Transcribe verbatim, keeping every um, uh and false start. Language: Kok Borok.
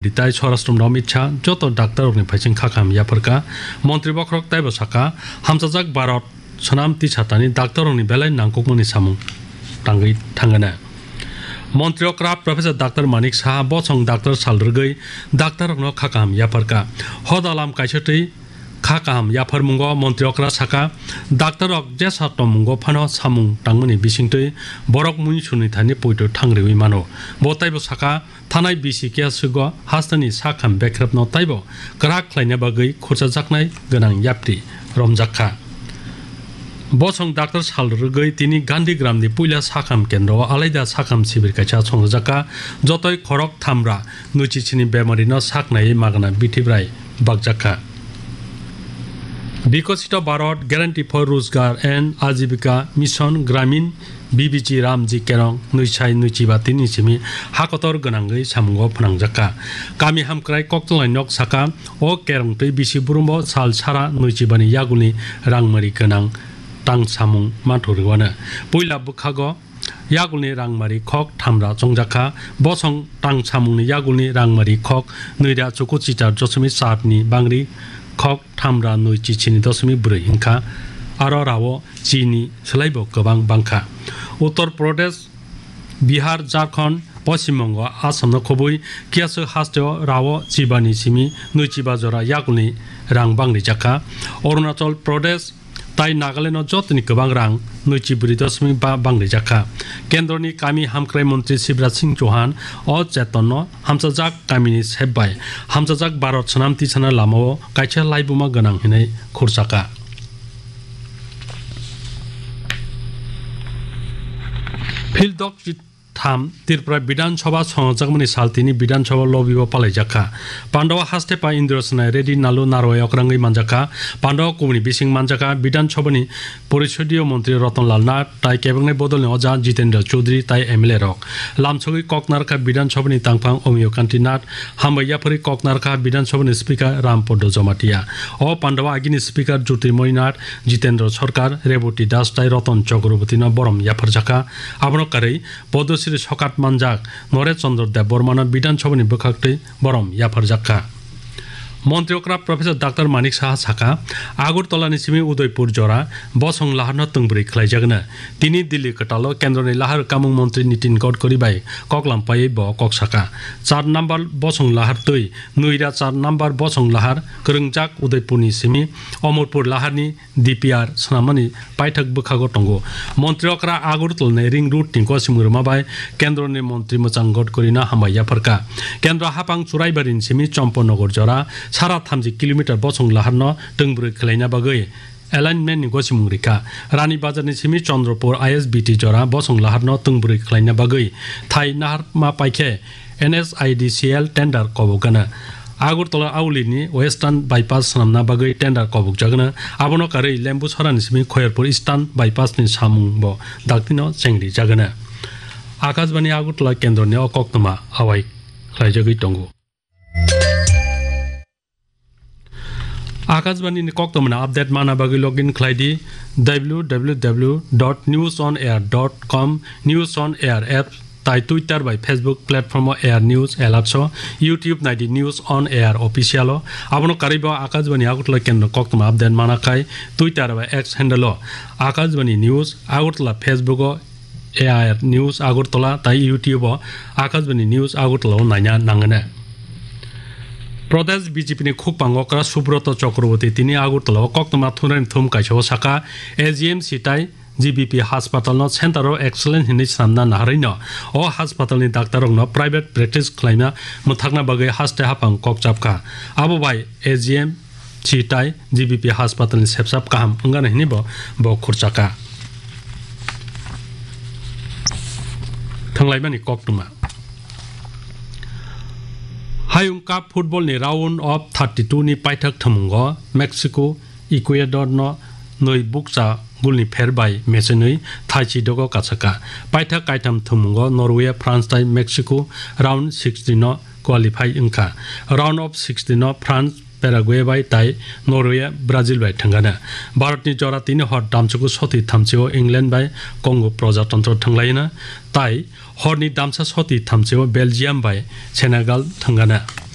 Modi tai Swarashtra Amit Shah joto daktar rokni phaising kha kaham yapharkha. Montri bokhorok taibo sakha, hamchajak Bharat swnam tisatani daktar rokni belai nangkukmani samung tangwi thangana. Montri okra Professor Doctor Manik Saha bosong daktar sal rwgwi daktar rokno kha kaham yapharkha. Hoda lam kaisa twi kha kaham yapharmungo montri okra sakha, daktar rok jesa tongmungo phano samung tangmani bisingtwi borok mui sunwi thani poito thang rwui mano. Bo taibo sakha, thanai bisi kiya swgo hasteni sakham bekrepno taibo kwrak khlaina bagwi khurchajaknai gwnang yapri romjak kha. Bosong daktar sal rwgwi tini Gandhi Gramni puila sakham kendro o alaida sakham sibir kaisa songjak kha, jotoi khorok thamra nuichi chini bemarino saknai magna bithibrai bakjak kha. Bikosito Bharat Guarantee for Rozgar and Ajibika Mission Gramin B B G Ramji Kerong nui sai nui chiba tini simi hakotor gwnangwi samungo phnangjakha. Kami hamkrai koktwlai nok saka o kerong twi bisi burumbo sal sara nui chibani yagulni rangmari gwnang tang samung manthurwano. Puila bwkhago yagulni rangmari khok thamra chongjakha. Bosong tang samungni yagulni rangmari khok nuira chuku chichar dosomik char ni bangri khok thamra nui chichini dosomik brwi wngkha. Aro rao chini swlaibo kwbang bangkha. Uttar Pradesh, Bihar, Jharkhand, Poschim Bongo, Assam no khobwi kiyasu hasteo rao chibani simi nui chiba jora yagulni rang bangri jakha. Arunachal Pradesh, tai Nagaland o jotoni kwbang rang nui chi bwrwi dosomik ba bangri jakha. Kendroni kami hamkrai montri Shivraj Singh Chauhan o Cheton no hamchajak kamini sep bai hamchajak Bharat swnam tisana lamao kaisa laibuma gwnang hinwi khurchakha. Phil dok tham Tripura Bidhan Sabha songjakmani sal tini Bidhan Sabha lobby o palaijakha. Pandao haste pa Indra Sinai Reddy Nalu Narwai okrangwi manjakha. Pandao kubuni bising manjakha Bidhan Sabhani Porisodio Montri Ratan Lal Nath tai kebeknai bodolni oja Jitendra Chaudhary tai M L A rok. Lamsogwi kok narkha Bidhan Sabhani tangphang Omiyo Kanti Nath, hambai yapharwi kok narkha Bidhan Sabhani Speaker Ram Podo Jamatia. O pandao agini Speaker Jyotirmoy Nath, Jitendra Sarkar, Reboti Das tai Ratan Chakrabortino borom yapharjakha. Abono karwi Padma Shri sokat manjak Naresh Chandra Debbarmano Bidhan Sabhani bwkhaktwi borom yapharjak kha. Montri okra Professor Doctor Manik Saha sakha, Agartala ni simi Udaipur jora bosong laharno twngbrwi khlaijagna. Tini Delhi kwtalo Kendroni lahar kamung montri Nitin Gadkari bai koklam paiwi bo kok sakha. Char number bosong lahar twi nuira char number bosong lahar kwrwngjak Udaipurni simi Amarpur laharni D P R swnamnani paithak bwkhago tongo. Montri okra Agartala ni ring road ni gosimung rwma bai Kendroni montri mwchang Gadkarino hambai yapharkha. Kendro haphang Churaibarini simi Champanagar jora sara thamji kilometer bosong laharno twngbrwi khlaina bagwi alignment ni gosimung rikha. Rani Bazar ni simi Chandrapur I S B T jora bosong laharno twngbrwi khlaina bagwi thai naharma paikhe N S I D C L tender kobokgana. Agartala Auli ni Western Bypass swnamna bagwi tender kobokjagna. Abono karwi Lembusara ni simi Khoyerpur Eastern Bypass ni samung bo daktino chengrijagana. Akashbani Agartala kendroni o koktwma awai khlaijagwi tongo. Akashbani ni koktwmani update mana bagwi login khlai di W W W dot news on air dot com, News on Air app tai Twitter bai Facebook platform o Air News Alerts o, YouTube nai di News on Air Official o. Abono karwi bo Akashbani Agartala kendro koktwma update mana khai Twitter bai X handle o Akashbani News Agartala, Facebook o A I R News Agartala tai YouTube o Akashbani News Agartala o naina nangana. Pradesh B J P ni khukpang okra Subroto Chakraborty tini Agartala o koktwma thumnaini thum kaisa o sakha, A G M C tai G B P hospital no center of excellence hinwi swnamna naharwi no o hospital ni doctor rok no private practice khlaina mwthakna bagwi haste haphang kok chapkha. Abo bai A G M C tai G B P hospital ni sepsap kaham wngana hinwi bo, bo khurchakha. Thanglaimani koktwma. Hayung Cup football ni round of thirty-two ni paithak thamungo Mexico Ecuador no nwi bukcha gulni pher bai mechenwi thaichi dogo kachaka. Paithak kaitham thamungo Norway, France tai Mexico round sixty no qualify wngkha. Round of sixty no France Paraguay bai tai Norway Brazil bai thangana. Bharat ni jora tini hor damchuku soti thamchi o England bai Congo Projatantra thanglaina tai hor ni damsa soti thamchi o Belgium bai Senegal thangana.